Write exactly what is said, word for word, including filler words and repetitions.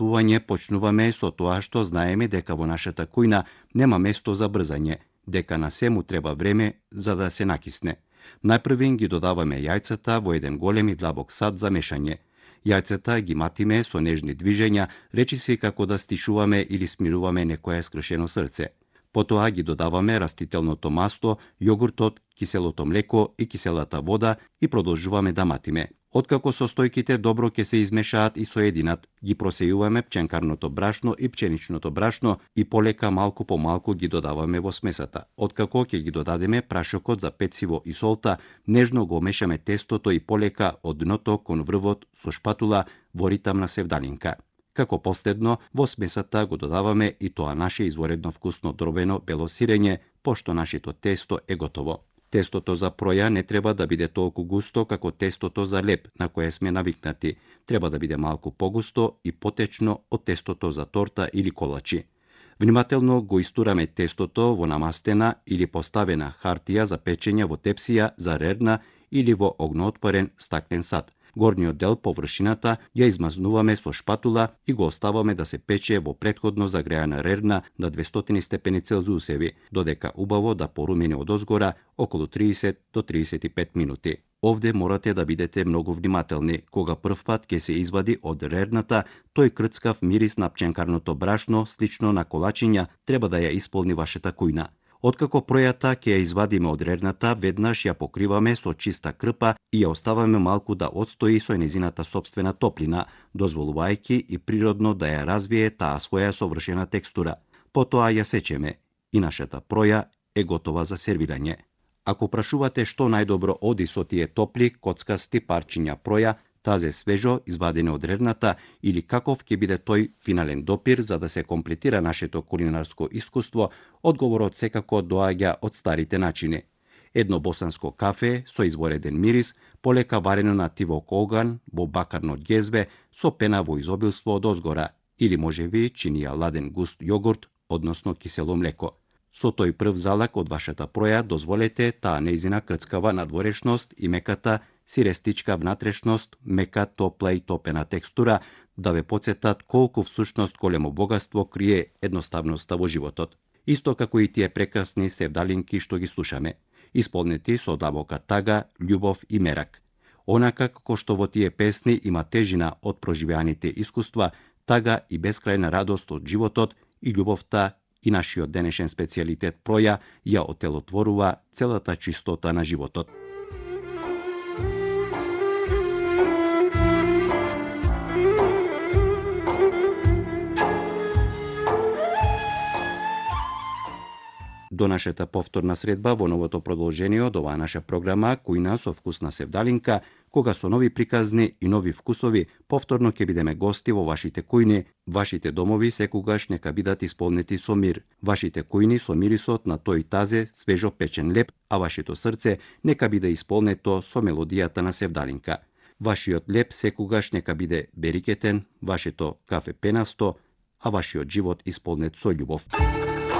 приготвување почнуваме со тоа што знаеме дека во нашата кујна нема место за брзање, дека на сему треба време за да се накисне. Најпрвин ги додаваме јајцата во еден голем и длабок сад за мешање. Јајцата ги матиме со нежни движења, речиси како да стишуваме или смируваме некое скршено срце. Потоа ги додаваме растителното масто, јогуртот, киселото млеко и киселата вода и продолжуваме да матиме. Откако состојките добро ќе се измешаат и соединат, ги просејуваме пченкарното брашно и пченичното брашно и полека малку по малку ги додаваме во смесата. Откако ќе ги додадеме прашокот за пециво и солта, нежно го мешаме тестото и полека од дното кон врвот со шпатула во ритам на севдалинка. Како последно, во смесата го додаваме и тоа наше изворедно вкусно дробено бело сирење, пошто нашето тесто е готово. Тестото за проја не треба да биде толку густо како тестото за леп на кое сме навикнати. Треба да биде малку погусто и потечно од тестото за торта или колачи. Внимателно го истураме тестото во намастена или поставена хартија за печење во тепсија за рерна или во огноотпорен стаклен сад. Горниот дел, површината, ја измазнуваме со шпатула и го оставаме да се пече во претходно загреана рерна на двестоти степени Целзиусеви, додека убаво да порумени одозгора околу триесет до триесет и пет минути. Овде морате да бидете многу внимателни. Кога првпат ќе се извади од рерната, тој крцкав мирис на пченкарното брашно, слично на колачиња, треба да ја исполни вашата кујна. Откако пројата ќе ја извадиме од рерната, веднаш ја покриваме со чиста крпа и ја оставаме малку да отстои со незината сопствена топлина, дозволувајќи и природно да ја развие таа своја совршена текстура. Потоа ја сечеме и нашата проја е готова за сервирање. Ако прашувате што најдобро оди со тие топли, коцкасти парчиња проја, тазе свежо, извадени од рерната, или каков ќе биде тој финален допир за да се комплетира нашето кулинарско искуство, одговорот секако доаѓа од старите начини. Едно босанско кафе со извореден мирис, полека варено на тивок оган, во бакарно ѓезбе, со пена во изобилство од озгора, или можеби чинија ладен густ јогурт, односно кисело млеко. Со тој прв залак од вашата проја дозволете таа нејзина крцкава надворешност и меката сирестичка внатрешност, мека, топла и топена текстура да ве потсетат колку всушност големо богатство крие едноставноста во животот. Исто како и тие прекрасни севдалинки што ги слушаме, исполнети со длабока тага, љубов и мерак. Онака како што во тие песни има тежина од проживеаните искуства, тага и бескрајна радост од животот и љубовта и нашиот денешен специјалитет проја ја отелотворува целата чистота на животот. До нашата повторна средба во новото продолжение од оваа наша програма Кујна со вкусна севдалинка, кога со нови приказни и нови вкусови повторно ќе бидеме гости во вашите кујни. Вашите домови секогаш нека бидат исполнети со мир. Вашите кујни со мирисот на тој тазе свежо печен леп, а вашето срце нека биде исполнето со мелодијата на севдалинка. Вашиот леп секогаш нека биде берикетен, вашето кафе пенасто, а вашиот живот исполнет со љубов.